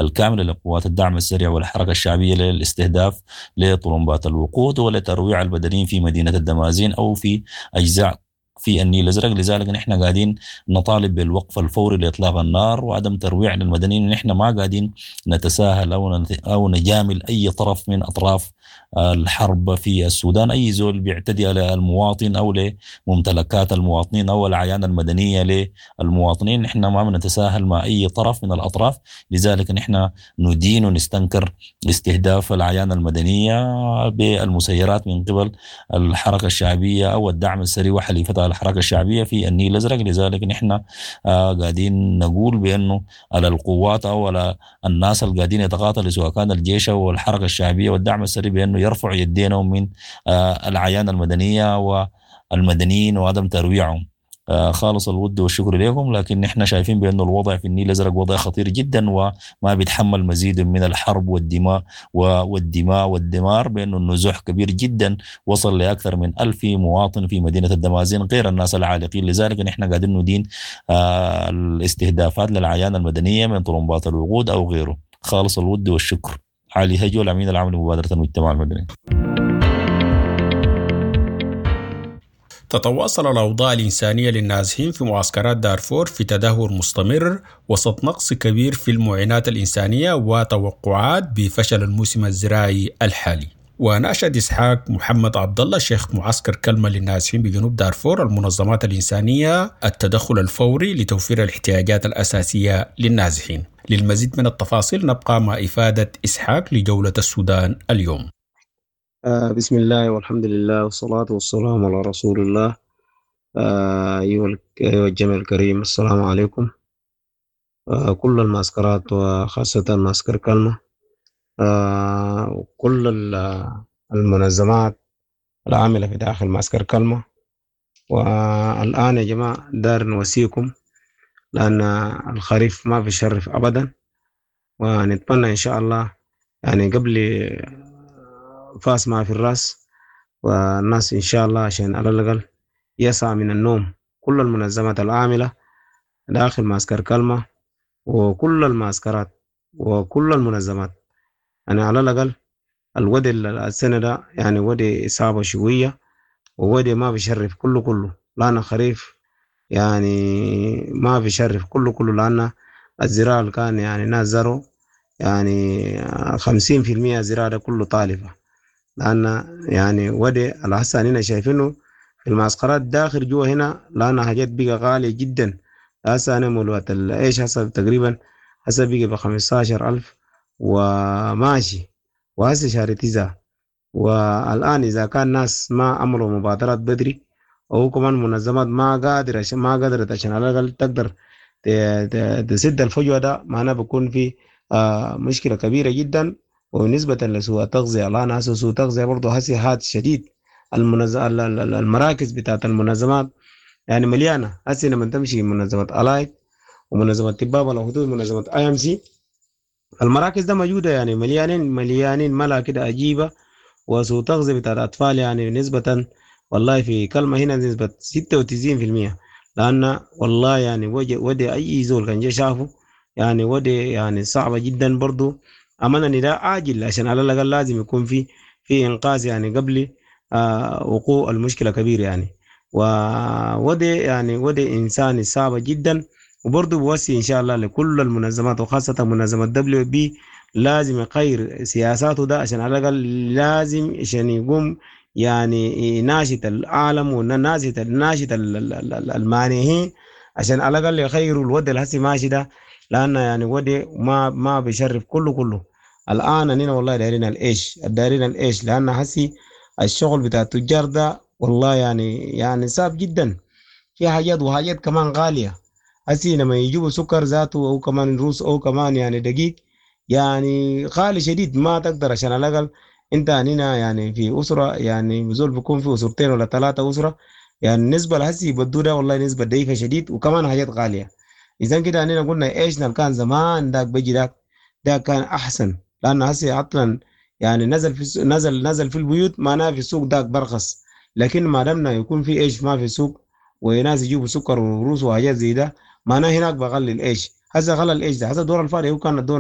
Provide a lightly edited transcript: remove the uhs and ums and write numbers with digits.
الكاملة لقوات الدعم السريع والحركة الشعبية للاستهداف لطرمبات الوقود ولترويع المدنيين في مدينة الدمازين أو في أجزاء في النيل الأزرق. لذلك نحن قاعدين نطالب بالوقف الفوري لإطلاق النار وعدم ترويع للمدنيين. نحن ما قاعدين نتساهل أو نجامل أي طرف من أطراف الحرب في السودان. أي زول بيعتدي على المواطن أو لممتلكات المواطنين أو العيان المدنية للمواطنين، نحن ما بنتساهل مع أي طرف من الأطراف. لذلك نحن ندين ونستنكر استهداف العيان المدنية بالمسيرات من قبل الحركة الشعبية أو الدعم السريع وحليفتها الحركة الشعبية في النيل الأزرق. لذلك نحن قاعدين نقول بأنه على القوات أو على الناس اللي قاعدين يتقاتلوا سواء كان الجيش أو الحركة الشعبية والدعم السريع بأنه يرفعوا يدينهم من العيان المدنية والمدنيين وعدم ترويعهم. خالص الود والشكر لكم، لكن نحن شايفين بأن الوضع في النيل الأزرق وضع خطير جدا وما بيتحمل مزيد من الحرب والدماء والدماء والدمار، بأنه النزوح كبير جدا وصل لأكثر من 1000 مواطن في مدينة الدمازين غير الناس العالقين. لذلك نحن قاعدين ندين الاستهدافات للعيان المدنية من طرمبات الوقود أو غيره. خالص الود والشكر. علي هجو، الأمين العام لمبادرة المجتمع المدني. تتواصل الأوضاع الإنسانية للنازحين في معسكرات دارفور في تدهور مستمر وسط نقص كبير في المعينات الإنسانية وتوقعات بفشل الموسم الزراعي الحالي. وناشد إسحاق محمد عبد الله شيخ معسكر كلمة للنازحين بجنوب دارفور المنظمات الإنسانية التدخل الفوري لتوفير الاحتياجات الأساسية للنازحين. للمزيد من التفاصيل نبقى مع إفادة إسحاق لجولة السودان اليوم. بسم الله والحمد لله والصلاة والسلام على رسول الله. أيها الجميع الكريم، السلام عليكم. كل المعسكرات وخاصة معسكر كلمة، وكل المنظمات العاملة في داخل معسكر كلمة. والآن يا جماعة دار نوصيكم، لأن الخريف ما بيشرف أبدا، ونتمنى إن شاء الله يعني قبل فاس ما في الراس والناس إن شاء الله عشان على الأقل يسعى من النوم. كل المنظمات العاملة داخل معسكر كلمة وكل المعسكرات وكل المنظمات، يعني على الأقل الودي السنة ده يعني ودي صعبة شوية وودي ما بيشرف كله كله، لأن خريف يعني ما بيشرف كله كله، لأن الزراعة اللي كان يعني ناس زروا يعني 50% زراعة ده كله طالبة، لأن يعني ودي الحسن هنا شايفينه في المعسكرات داخل جوا هنا، لأن حاجات بقى غالية جدا. هسه أنا مولوات العيش هسه تقريبا هسه بقى ب15,000 وماشي، وهسه شهر 9. والآن إذا كان ناس ما عملوا مبادرات بدري أو كمان منظمات ما قادرة عشان ما قدرت عشان على الأقل تقدر تسد الفجوة ده، معناه بيكون في مشكلة كبيرة جدا. وبالنسبة لسوء التغذية، الآن هسه سوء التغذية برضه هسه حاد شديد. المراكز بتاعت المنظمات يعني مليانة هسه. لما تمشي منظمة ألايك ومنظمة طباب الحدود منظمة IMC، المراكز ده موجودة يعني مليانين مليانين ملا كده عجيبة. وسوء تغذية بتاعت الأطفال يعني نسبة والله في كلمة هنا نسبة 96%، لأن والله يعني ودي أي زول كان جا شافه يعني ودي يعني صعبة جدا برضو. أمانة نداء عاجل عشان على الأقل لازم يكون في إنقاذ يعني قبل وقوع المشكلة كبيرة يعني. وودي يعني ودي إنساني صعبة جدا. وبرضو بوصي إن شاء الله لكل المنظمات وخاصة منظمة WB لازم يغير سياساته ده عشان على الأقل لازم عشان يقوم يعني يناشد العالم وناشد ناشد المانحين عشان على الأقل يغيروا الوضع اللي هسه ماشي ده، لأن يعني ودي ما بيشرف كله كله. الآن أننا والله دايرين الإيش، دايرين الإيش، لأن هسي الشغل بتاع التجار ده والله يعني صعب جدا، في حاجات وحاجات كمان غالية. هسي لما يجيبوا سكر ذاته أو كمان روس أو كمان يعني دقيق يعني غالي شديد، ما تقدر عشان على الأقل أنت هنا يعني في أسرة يعني زول بيكون في أسرتين ولا 3 أسرة، يعني النسبة لهسي يبدو ده والله نسبة ضعيفة شديد وكمان حاجات غالية. إذا كده أننا قلنا إيش كان زمان داك بيجي داك ده كان أحسن، لأن هسي عطلا يعني نزل في نزل في البيوت معناه في السوق داك برخص، لكن ما دامنا يكون في إيش ما في السوق وناس يجيبوا سكر وروس وحاجات زي ده معناه هناك بغلي الإيش. هسه غلى الإيش ده، هسه دور الفارق هو كان الدور